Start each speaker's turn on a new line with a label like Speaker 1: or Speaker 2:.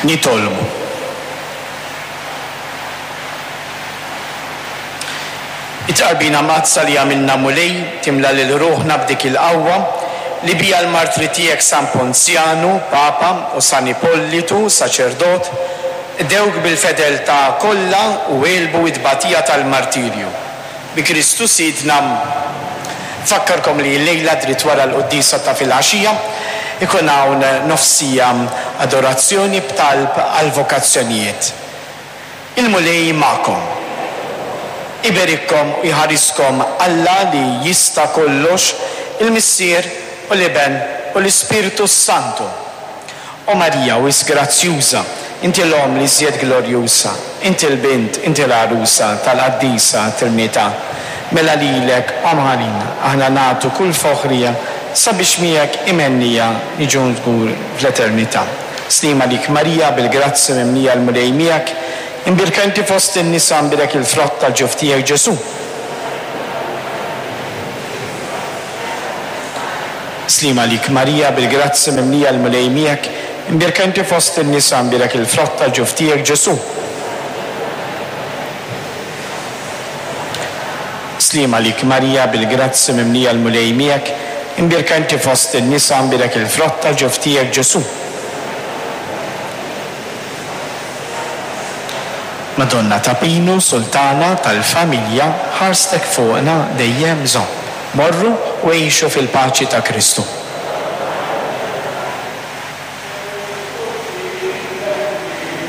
Speaker 1: Nitolbu. It-tqarbina mqaddsa li għamilna Mulej timla lil ruħna b'dik il-qawwa li biha l-martri tiegħek San Ponzjanu, Papa, u San Ipollitu, saċerdot, qdewk bil-fedeltà kollha u għelbu t-tbatija tal-martirju. Bi Kristu Sidna. Nfakkarkom li llejla dritt wara l-quddiesa ta' filgħaxija ikun hawn nofsija adorazzjoni b'talb għall-vokazzjonijiet. Il-Mulej magħkom. Iberikkom u jħariskom Alla li jista' kollox, il-Missier u l-Iben u l-Ispirtu s-Santu. O Marija, wisq grazzjuża, inti l-Omm l-iżjed glorjusa, inti l-Bint, inti l-Għarusa tal-Qaddisa Trinità. Mela lilek, Omm ħanina, aħna nagħtu kull foħrija sabiex miegħek imhennija niġu żgur fl-eternità. Sliem għalik Marija, bil-grazzja mimlija l-Mulej miegħek, imbierka inti fost in-nisa mbierek il-frott tal-ġuf tiegħek Ġesù. Sliem għalik Marija, bil-grazzja mimlija l-Mulej miegħek, imbierka inti fost in-nisa mbierek il-frott tal-ġuf tiegħek Ġesù. Sliem għalik Marija, bil-grazzja mimlija l-Mulej miegħek, imbierka inti fost in-nisa mbierek il-frott tal-ġuf tiegħek Ġesù. Madonna ta' Pinu, Sultana tal-familja, ħarstek fuqna dejjem żomm. Morru u għixu fil-paċi ta' Kristu.